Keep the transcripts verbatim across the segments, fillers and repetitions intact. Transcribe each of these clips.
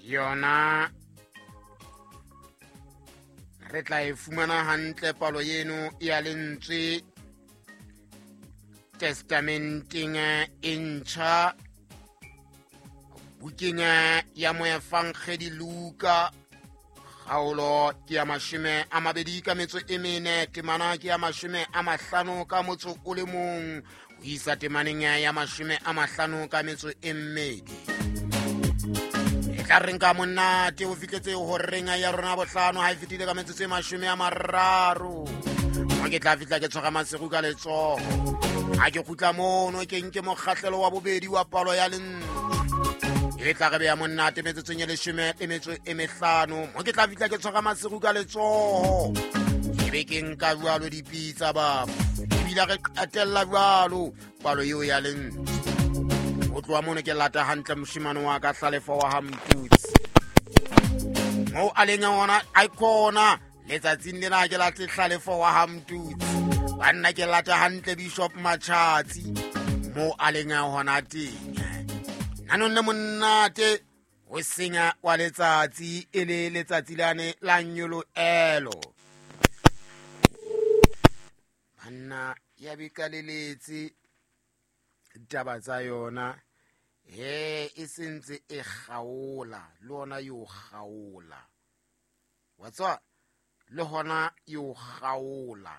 Yona re tla e fumana hantle palo eno ya lentswe testamenteng e ntjha bukeng ya moefangedi Luka kgaolo ke ya mashome a mabedi ka metso e mene temana ke ya mashome a mahlano ka motso o le mong ho isa temaneng ya mashome a mahlano ka metso e mmedi. E tla reng ka monate o fihletse horeng ya rona bohlano ha e fetile ka metsotso e mashome a mararo. Mo ke tla fihla ke tshwara Maseru ka letsoho. Ha ke kgutla mono ke nke mokgahlelo wa bobedi wa palo ya lentswe. E tla re beya monate metsotsong e leshome le metso e mehlano. Mo ke tla fihla ke tshwara Maseru ka letsoho. Ke be ke nka jwalo dipitsa baba. Ebile re qetella jwalo palo eo ya lentswe. Ho tloha mono ke lata hantle moshemane wa ka Hlalefo wa ha Mtutsi. Moo a leng hona a khona letsatsing lena ke late Hlalefo wa ha Mtutsi. Banna ke lata hantle Bishop Machatsi moo a leng hona teng. Nanong le monate ho senya wa letsatsi e le letsatsi lane la nyoloelo. Banna ya bikaleletse ditaba tsa yona he e sentse e kgaola le ona yo kgaola wa tswa le hona yo kgaola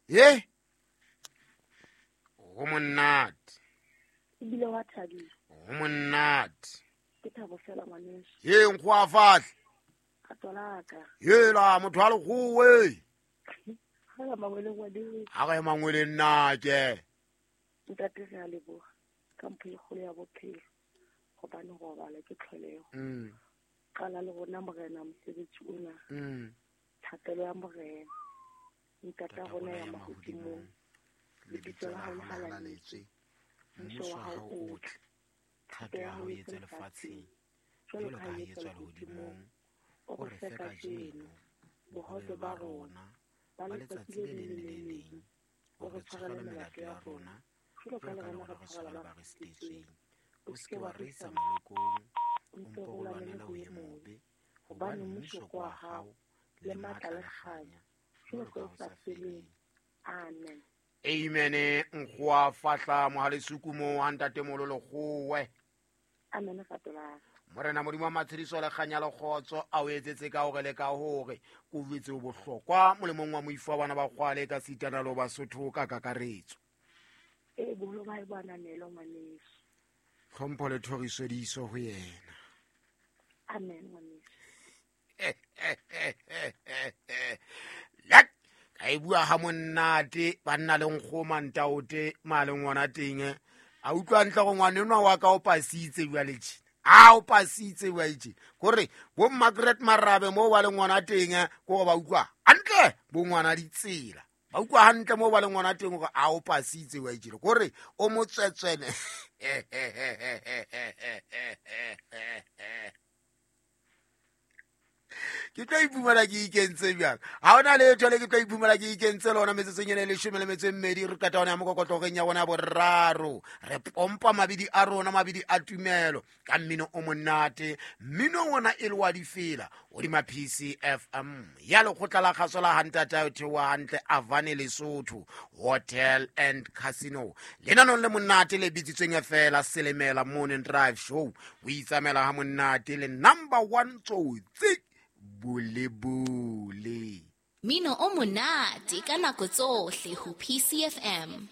he ho monate ebile wa thabile ho monate ke thabo fela ngwaneso he nkgoa fahle ka tswalaka he la motho a lekgowe ha la mangwele ngwane ha re mangwele nna ke ntate re a leboha ka mpho e kgolo ya bophelo gobane go robala ke tlholego. Mm. Qala le rona morena mosebetsi ona. Mm. Thapelo ya morena ntata rona ya mahodimong lebitso la hao le halaletswe mmuso wa hao o tle thato ya hao e etswe lefatsheng jwalo ka ha e etswa lehodimong. O re fe kajeno bohobe ba rona ba letsatsi le leng le le leng. O re tshwarele melato ya rona jwalo ka le rona re tshwarela ba re sitetsweng. O se ke wa re isa molekong, o mpe o lwanele ho e mobe, hobane mmuso ke wa hao le matla le kganya jwalo ka ho sa feleng. Amen. Amen. Nkgoa fahla mohalesuku mo ha ntate molo lekgowe. Amen ratola. Morena Modimo wa matshediso le kganya le kgotso a o etsetse ka hore le ka hore ko jwetse o bohlokwa molemong wa moifo wa bana ba kgwale ka sitana lo Basotho ka kakaretso. E boholo ba e bonanelo ngwaneso. Tlhompho le thoriso di iso ho yena. Amen ngwaneso. Lek ka e bua ha monate banna le nkgoma ntaote maleng ona teng a utlwa ntle go ngwanenwa wa ka o pasitse jwale tjena. A o pasitse wa itse kore bo Margaret Marabe mo ba le ngwana teng ko ba utlwa hantle bo ngwana ditsela ba utlwa hantle mo ba le ngwana teng gore a o pasitse wa itse kore o motswetswene. Ke tlo iphumana ke ikentse bjang ha hona letho le ke tlo iphumana ke ikentse lona metsotsong ena e leshome le metso e mmedi re qeta hona ya mokokotloreng ya bona boraro re pompa mabidi a rona mabidi a tumelo ka mmino o monate mmino ona e le wa difela hodima P C F M ya lekgotla la kgaso la hantata o theoha hantle Avane Lesotho Hotel and Casino lenanong le monate le bitsitsweng fela Selemela Morning Drive Show o itsamela ha monate le number one tsotsi bole bole Mino o monate ka nako tsohle ho P C F M.